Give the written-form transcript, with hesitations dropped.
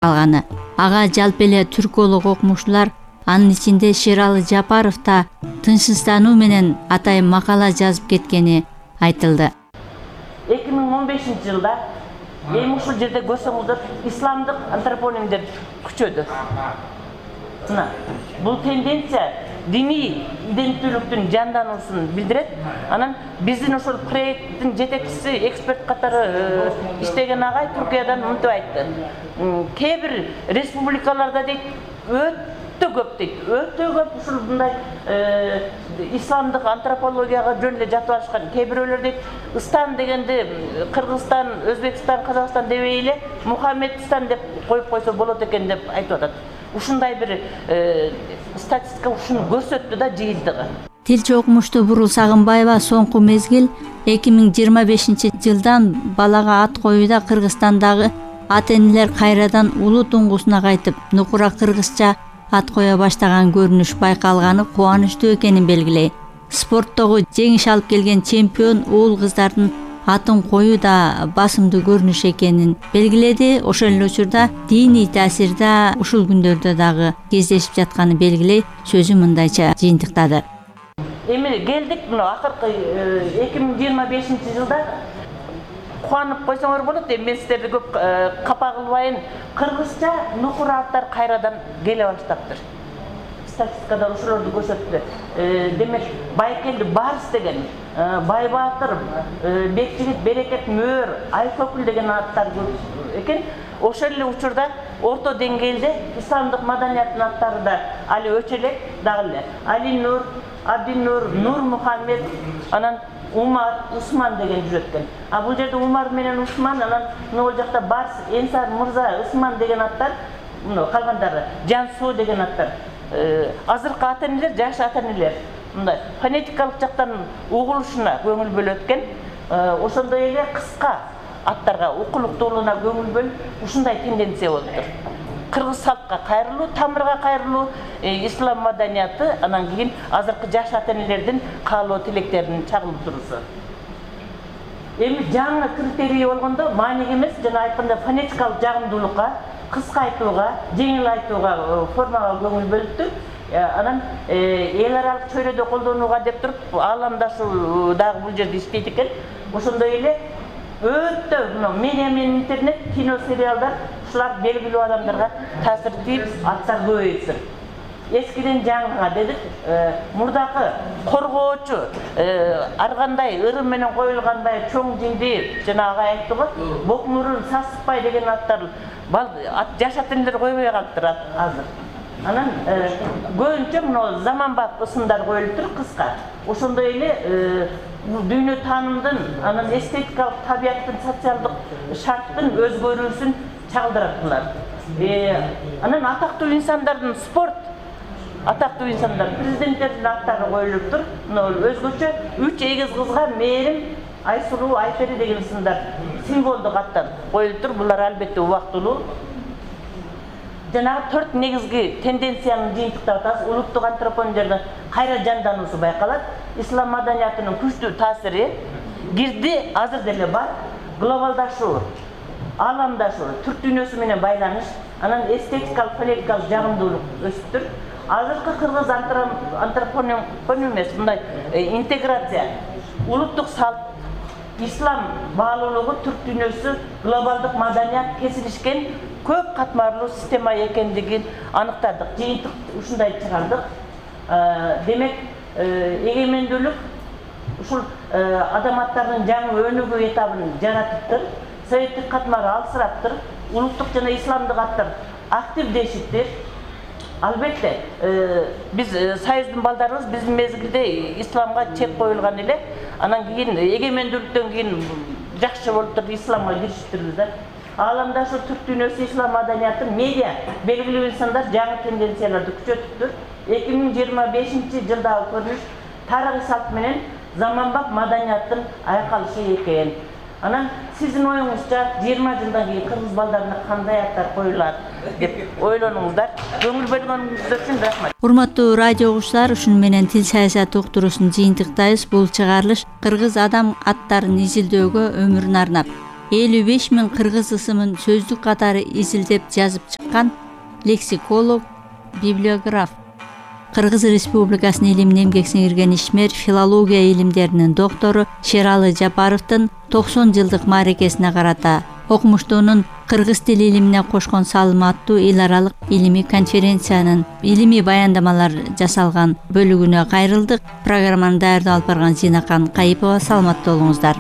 калганы. Ага жалпы эле түрколог окумуштуулар, анын ичинде Шералы Жапаров да тынчсыздануу менен атайын макала жазып кеткени айтылды. 2015-жылда эми ушул жерде көрсөңүздөр исламдык антропонимдер күчөдү. Бул тенденция диний иденттүүлүктүн жандануусун билдирет. Анан биздин ошол проекттин жетекчиси, эксперт катары иштеген агай Түркиядан мынтип айтты. Кээ бир республикаларда дейт өтө көп ушул мындай исламдык антропологияга жөн эле жатып алышкан. Кээ бирөөлөр дейт Истан дегенди Кыргызстан, Өзбекстан, Казакстан дебей эле Мухаммедстан деп коюп койсо болот экен деп айтып атат. Ушундай бир статистика ушуну көрсөттү да жыйынтыгы. Тилчи окумуштуу Бурул Сагынбаева соңку мезгил 2025-жылдан балага ат коюуда Кыргызстандагы ата-энелер кайрадан улуу туңгусуна кайтып, нукура кыргызча ат кое баштаган көрүнүш байкалганы кубанычтуу экенин белгилей. Спорттогу жеңиш алып келген чемпион уул кыздардын атын коюу да басымдуу көрүнүш экенин белгиледи. Ошол эле учурда диний таасирда ушул күндөрдө дагы кездешип жатканын белгилей сөзүн мындайча жыйынтыктады. Эми келдик мына акыркы 2025-жылда кубанып койсоңор болот. Эми мен сиздерди көп капа кылбайын. Кыргызча нукура аттар кайрадан келе баштаптыр. Статистикада ошолорду көрсөттү. Демек Байкелди Барс деген, Байбаатыр, Бекжигит, Берекет, Мөөр, Айкөкүл деген аттар көп экен. Ошол эле учурда орто деңгээлде исламдык маданияттын аттары да али өчө элек дагы эле. Али Нур, Абдинур, Нур Мухаммед, анан Умар, Усман деген жүрөт экен. А бул жерде Умар менен Усман, анан могул жакта Барс, Энсар Мырза, Усман деген аттар, калгандары Жансуу деген аттар. Азыркы ата-энелер, жаш ата-энелер мындай фонетикалык жактан угулушуна көңүл бөлөт экен. Ошондой эле кыска аттарга укулуктуулугуна көңүл бөлүп, ушундай тенденция болуп тур. Кыргыз салтка кайрылуу, тамырга кайрылуу, ислам маданияты, анан кийин азыркы жаш ата-энелердин каалоо тилектерин чагылып туруусу. Эми жаңы критерий болгондо мааниге эмес, жана айтканда фонетикалык жагымдуулукка, кыска айтууга, жеңил айтууга, формага көңүл бөлүптү. Анан эл аралык чөйрөдө колдонууга деп туруп, ааламдашуу дагы бул жерде иштейт экен. Ошондой эле өтө медиа менен интернет, кино, сериалдар ушулар белгилүү адамдарга таасир тийип, аттар көбөйсүн. Эскиден жаңыга дедик, мурдакы коргоочу, ар кандай ырым менен коюлгандай чоң жинди, жана агай айтты го, Бокмурун, Сасыкбай деген аттар жаш ата-энелер койбой калыптыр азыр. Анан көбүнчө мына заманбап ысымдар коюлуп тур, кыска. Ошондой эле дүйнө таанымдын, анан эстетикалык табияттын, социалдык шарттын өзгөрүүсүн чагылдырат булар. Анан атактуу инсандардын спорт, атактуу инсандар, президенттердин аттары коюлуп тур. Өзгөчө 3 эгиз кызга Мээрим, Айсулуу, Айпери деген сындар символдук аттар коюлуп тур. Булар албетте убактылуу. Жанагы 4 негизги тенденцияны жыйынтыктап атабыз. Улуттук антропонимдердин кайра жандануусу байкалат. Ислам маданиятынын күчтүү таасири кирди, азыр деле бар. Глобалдашуу, ааламдашуу, түрк дүйнөсү менен байланыш, анан эстетикалык, фонетикалык жагымдуулук өсүп тур. Азыркы кыргыз антропоним эмес, мындай интеграция, улуттук салт, ислам баалуулугу, түрк дүйнөсү, глобалдык маданият кесилишкен көп катмарлуу система экендигин аныктадык. Жыйынтык ушундай чыгардык. Демек, эгемендүүлүк ушул адаматтардын жаңы өнүгүү этабын жаратыптыр. Советтик катмары алсыраптыр. Улуттук жана исламдык аттар активдешиптир. Албетте, биз союздун балдарыбыз биздин мезгилде исламга чек коюлган эле. Анан кийин эгемендүүлүктөн кийин жакшы болуп туруп исламга киришиптирбиз да. Ааламдашуу, түрк дүйнөсү, ислам маданияты, медиа белгилүү инсандар жаңы тенденцияларды күчөтүптүр. 2025-жылдагы көрүнүш тарыхый салт менен заманбап маданияттын айкалышы экен. Анан сиздин оюңузча 20 жылдан кийин кыргыз балдарына кандай аттар коюлат деп ойлонуңуздар. Көңүл бөлгөнүңүздөр үчүн рахмат. Урматтуу радио угуучулар, ушуну менен тил саясаты уктуруусун жыйынтыктайбыз. Бул чыгарылыш кыргыз адам аттарын изилдөөгө өмүрүн арнап 55 000 кыргыз ысымын сөздүк катары изилдеп жазып чыккан лексиколог, библиограф. Кыргыз Республикасынын илимине эмгек сиңирген ишмер, филология илимдеринин доктору Шералы Жапаровдун 90 жылдык мааракесине карата окумуштуунун кыргыз тили илимине кошкон салымы аттуу эл аралык илимий конференциянын илимий баяндамалар жасалган бөлүгүнө кайрылдык. Программаны даярдап алып барган Зинакан Кайыпова. Саламатта болуңуздар.